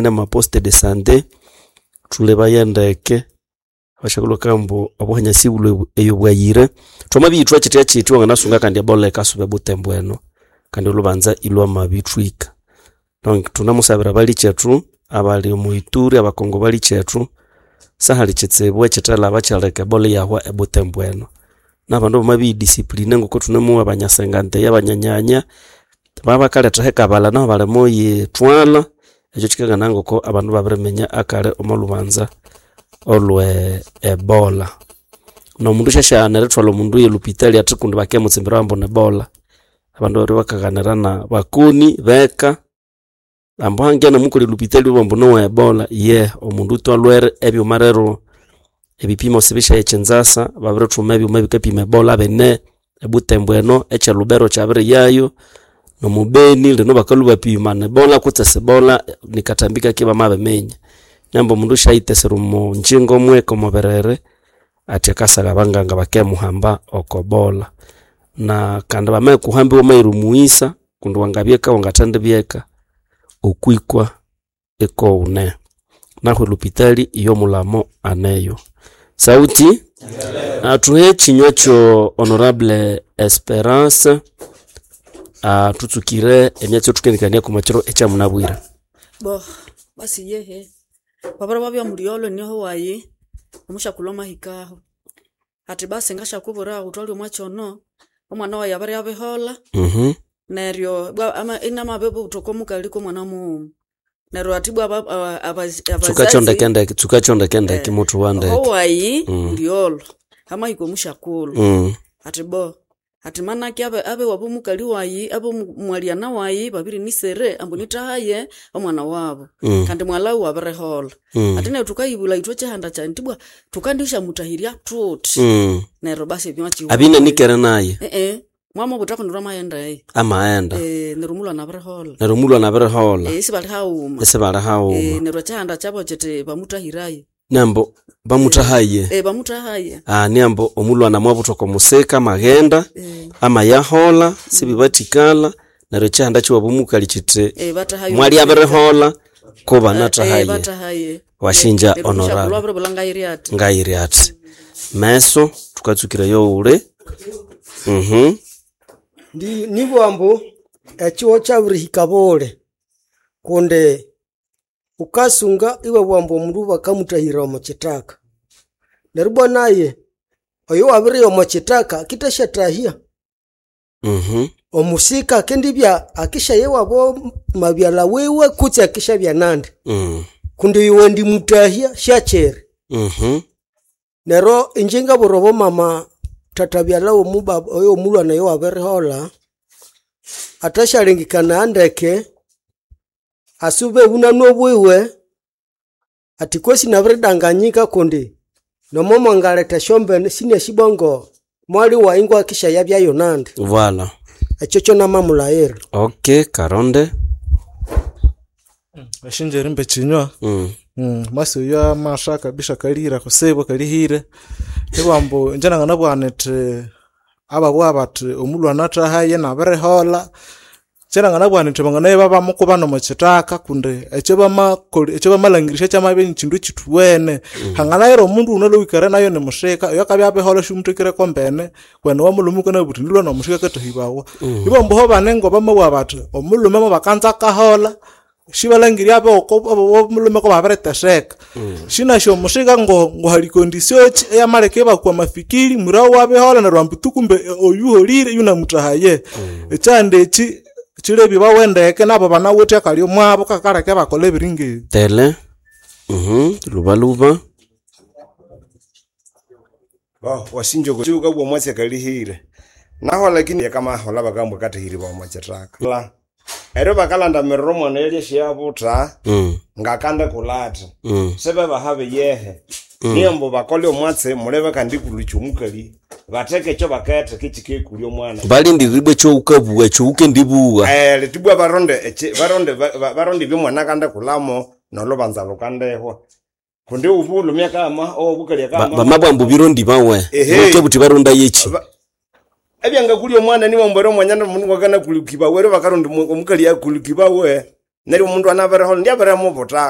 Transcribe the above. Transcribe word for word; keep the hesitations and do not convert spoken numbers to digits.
N'amaposte de santé thulebaya ndeke abashakulhu bakambu obuhanya sibulwe eyo bwayire. Thwamabiyithwa kyithya kyithya wanganasunga kandi ebola yikasuba ebutembo eno kandi olhubanza ilhwamabithwika. Donc thunemusabira abalikyethu abali omo Ituri, abakongo balikyethu sahali kyitsibu ekyithalhaba kyaleka ebola iyahwa ebutembo eno. Nabandu bamabiyidiscipline ngoko thunemowa abanyasenganteya, abanyanyanya babakaletha hekabalha nahu balimuyithwalha ekyo kyikakanaya ngoko abandu ibabiriminya akali omo lhubanza olwe ebola. Nomundu syasyaghana erithwalha omundu yelhupitali athi kundi bakimutsimbirawo ambu ni ebola. Abandu babiribya bakaghanira na bakoni beka ambu hangiya namukolha elhupitali babugha ambu niwe ebola, ye omundu tu alhwere ebyuma rero ebipimo sibisyaya ekyinzasa babirithuma ebyuma ebikapima ebola bine ebutembo eno, ekye Lubero kyabiriyayo, nomu Beni lino bakalhwa ibapima ni ebola kutse si ebola nikathambi kake bamabiminya. Neryo omundu syayithesera omo ngyingo mweka omo birere athi akasagha abanganga bakemuhamba oko bola. Na kandi bamakuhamba iwamayira omughisa kundi wangabya eka wangathendibya eka okwikwa ikughune. Nahu elhupitali yomulhamo aneyo. Sauti athuhe ekinywa kyo honorable Esperance athutsukire emyatsi eyathukendi omwa kiro ekyamunabwire. Bo basi yehe wabere wabya mulyolho inyoho wayi omusyakulhu amahikahu, athi basi ngasyakubwira ghutholye omwakyono, omwana wayi abiribya abiholha neryo ibwa ama- inamabibutha okwamukali komwana mughuma. Neryo athi ibwa aba- abazi Tsukakyo abazazi ndekendeke tsukakyo ndekendeke muthuwa ndeke. owayi Mm. mulyolho hamahika omusyakulhu Mm. athi bo athi manake abe abewabu mukali wayi abe mwalyana wayi babirinisere ambu nithahaye omwana wabu Mm. kandi mwalhawu abiriholha. Mm. Athi neryo thukayibulha ithwe kyihanda kyayi ithibwa thukandisyamuthahirya thuthi Mm. neryo basi ebyuma Abine nikere naye mwamubutha kundi lwamaghenda eyo amaghenda Eh, neryo omulwana abiriholha neryo omulwana abiriholha Eh, isibali haghuma isibali Eh, haghuma neryo ekyihanda kyabo kyithi bamuthahiraye nambo bamuthahaye Eh, bamuthahaye Ah, niambo omulwana mwabutha oko musika amaghenda Eh, amayaholha sibibathikala neryo ekyihanda kyiwabo omukali kyithi eh, bathahaye mwali abiriholha ko Eh, banathahaye bathahaye washinja Neryo omusyakulhu honorable abiribulha ngayiri athi ngayiri athi meso thukatsukira yowuli mhm Ndi nibwambu ekihugho kyabirihika bule kundi wukasunga iwabugha omundu bakamuthahira omo kithaka neryo ibwa naye oyo wabiriya omo kithaka akithasyathahya mhm omusika akendibya akisyaya iwabo mabyalha wiwe kutse akisyabya nandi mm kundi oyo wandimuthahya syakyiri mhm neryo inje ngabwira obomama thathabyalha womubaba oyo omulwana oyo wabiriholha athasyalengekania ndeke asube obunani bwiwe athi kwesi nabiridanganyika kundi nomo mwangaletha esyombene sinasi ngo mwali wayi ngwakishyayabyayo nandi Voilà. ekyo kyonamamulhaghira. Okay, Karonde. Washinja erimba ekinywa Mm. mm, masi oyo amasha kabisa kalihira kutsibu kalihire ibambu inje nanganabugha nithi ababugha bathi omulhwana athahaye nabiriholha kye nanganabugha nithi banganaye babamukuba omo kithaka kundi ekyo bamakolha ekyo bamalangirisya kyamabya nikyindu ekyithuwene hanganayira omundu wunalhowikere nayo nimushika oyo akabya abiholha siwumuthekireko mbene kwene wamulhume wukanabugha wuthi nilhwa nomushika akathahibawa ibambu ho bane ngobamabugha bathi omulhume mubakanza akaholha sibalangirye aboko omulhume kubabiriteseka sinasi omushika ngo ngohali condition ki eyamaleka ibakwa amafikiri mwira wabiholha neryo ambu tu kumbe oyu holire yunamuthahaye ekyandi eki kyilebye bawendeke nabo banawithe akali omwabo kakaleka ibakolha ebiri ngebi Tele. Mhm. Lubaluba. Bo wasinja ukabugha omwatsi akalihire naho lakini yakamaholha bakambwa kathahiribwa omo kithaka La. Eryo bakalandamirira omwana yalya syabutha Mm. ngakandikolha athi Mm. sibebaha biyehe niyo bakole omwatsi mulebe kandi kulukya omukali batheke ekyo baketheka ekikekulya omwana Balindiribwe ekyowukabugha ekyowukendibugha. Eh, litibwa baronde eki- baronde ba- ba- baronde ebyomwana akandikulhamo nolhubanza lukandihwa kundi ubulhumya kama obukalya Ba- kama Bamabwambu birondi bawe. Ehe. Buke buthi baronda yeki. Ba- ebyangakulya omwana niwambwera omwanya nomundu ngakanakulikibawe eryo bakaronda omukali akulukibawe neryo omundu anabiriholha ndyabirimubuthaka.